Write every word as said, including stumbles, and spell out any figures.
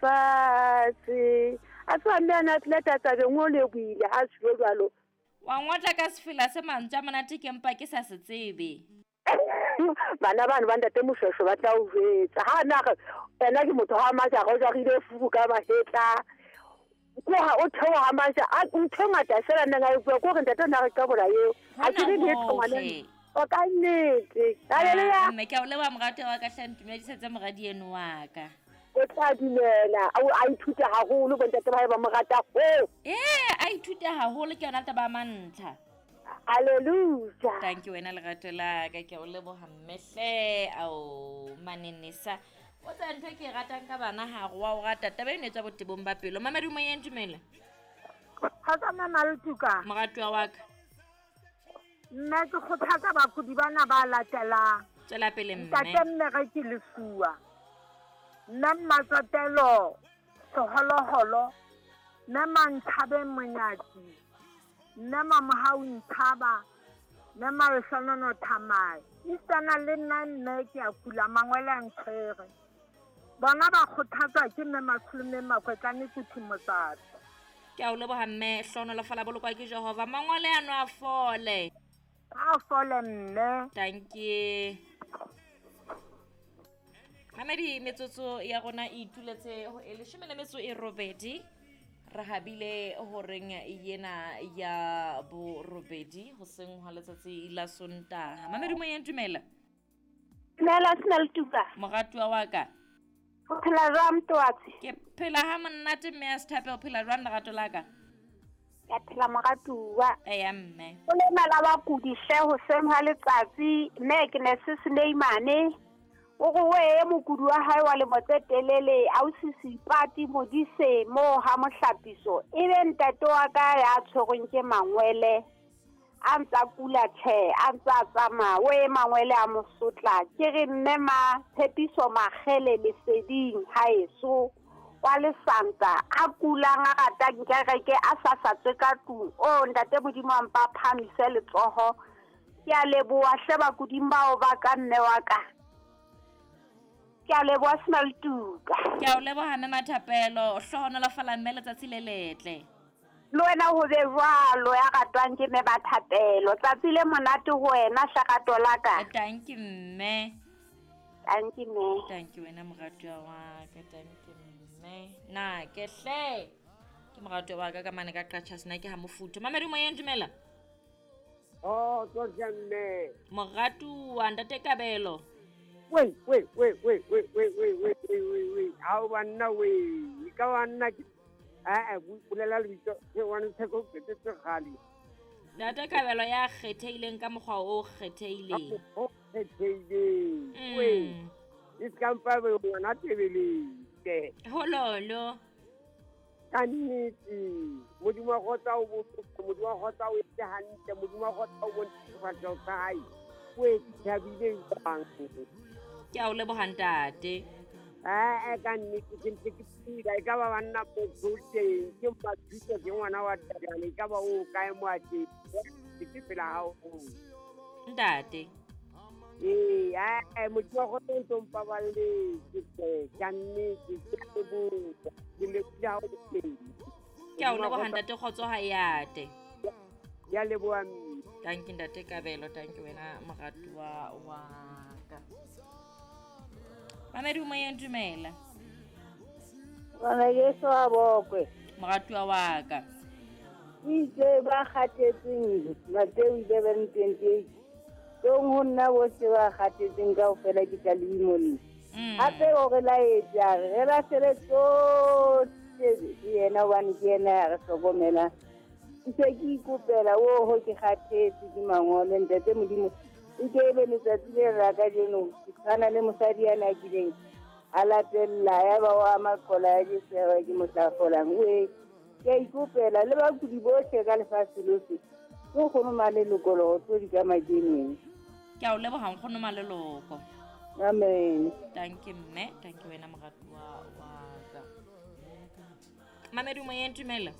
fatshe. A tswa mme a na tleta tabeng o lebohile ha se jwalo. Wa ngotla ka sefela se mantswe a monate ke mpa ke sa se tsebe. Bana bano ba ntate Moshweshwe ba tla o jwetsa. Ha na re ena ke motho ha maja go jarile fuku ka mahetla. Ko ha o theoha maja a ntho e ngata fela nna nga e bua ko re ntate na re ka bola eo. Ha ke re letho ngwana. O ka nnete. Haleluya. Mme ke a o leboha morati wa ka hle ntumedisetse moradi eno wa ka. O tla dumela a ithuta haholo bo ntate ba hae ba mo rata ho. Eh, a ithuta haholo ke yona taba ya mantlha. Hallelujah. Thank you wena lerato la ka ke o leboha mmehle ao manenesa. O tsa ntho ke ratang ka bana ha go wa o rata taba eno e tswa botebong ba pelo. Mama Dumo yeng dumela. Ha tsa mama Letuka. Moratuwa wa ka. Nna ke kgothatsa bakudi bana ba latelang. Tswela pele mme. Ntate mme re ke lefuwa. Mme Mmatsotelo Seholoholo, mme Manthabeng Monyatsi, mme Mamohau Nthaba, mme Malehlonono Thamae. Isana le nna mme ke a kula mangwele a ntshwere. Bona ba kgothatswa ke mme Matsholo mme Makwetlane Kuthi Motsatso. Ke a o leboha mme hlonolofala bolokwa ke Jehova. Mangwele ano a fole. A fole mme. Thank you. Mamedi metsotso ya rona e ituletse ho e leshome le metso e robedi. Re habile horeng yena ya borobedi hoseng hwa letsatsi la Sontaha. Mamedi moyeng dumela. Dumela sena Letuka. Moratuwa wa ka. O phela jwang Mtoatsi? Ke phela ha monate mme a Sethape o phela jwang lerato la ka? Ke phela moratuwa. Eya mme. O lena la bakudi hle hoseng hwa letsatsi mme ke ne se Suleimane. O re o e mokudi wa hae wa lemo tse telele ausi Sipati Modise mo ha mohlapiso e be ntate wa ka ya tshwerweng ke mangwele a ntsa kula tjhe a ntsa tsamaya o e mangwele a mosotla ke re mme ma Tshepiso Makgele leseding haeso wa lesanta a kulang a ratang kereke a sa sa tswe ka tlung o ntate Modimo a mpa phamise letsoho ke a leboha hle bakuding bao ba ka mme wa ka. Ke a leboha sena Letuka. Ke a o leboha mme Mathapelo, hlohonolofala mme letsatsi le letle. Le wena ho be jwalo ya ratwang ke mme Mathapelo. Tsatsi le monate ho wena hlerato la ka. Thank you mme. Thank you mme. Thank you wena moratuwa wa ka. Thank you mme. Na ke hle. Ke moratuwa wa ka ka mane ka Qacha sena ke ha mofuthu. Mamedi moyeng dumela. Oh, tsohle mme. Moratuwa ntate Kabelo. Wait, wait, wait, wait, wait, wait, wait, wait, wait, wait, wait. How banna we? Ka banna ke eh eh bulela lebitso ke one theko ke tse gale. Ntate Kabelo ya kgethehileng ka mokgwa o kgethehileng. O kgethehileng. Wait. E ska mpa be ngwana tebeleng. Hololo. Ka nnete. Modimo wa kgotsa o botse, Modimo wa kgotsa o etse hantle, Modimo wa kgotsa o bontshe sefahleho sa hae. We thabile jwang. Ke a o leboha ntate. Eh ka nnete ke ntse ke phela e ka ba banna bo teng ke mathuto ke ngwana wa Thabane e ka ba o kae mo a teng ke phela ha o ntate. Eh eh motho wa go ntse mpaballe ke ka nnete ke leboha ke leboha ha o teng. Ke a o leboha ntate kgotso ha e ate. Ya leboha mme. Thank you ntate Kabelo, thank you wena moratuwa wa ka. Mamedi moyeng dumela. Bana Jesu a bokwe. Moratuwa wa ka. Itse ba kgathetseng Mateo eleven twenty-eight. Tong ho nna bohle ba kgathetseng kaofela ke tla le imolla. Hape o re laetse a re re lahlele tsohle ke yena hobane ke yena ya re hlokomelang. Ke se ke ikopela oho ke kgathetse ke mangolo ntate Modimo. E ke ebe letsatsi le la kajeno ke tshwana le mosadi yana a kileng a latella ya ba wa maqola ya Jesu ya ba ke mohla folang. We ke a ikopela le bakudi bohle ka lefatshe lohle ke nkgono Maleloko le go di ka makeneng. Ke a o leboha nkgono Maleloko. Amen. Thank you mme, thank you wena moratuwa wa ka. Mamedi moyeng dumela.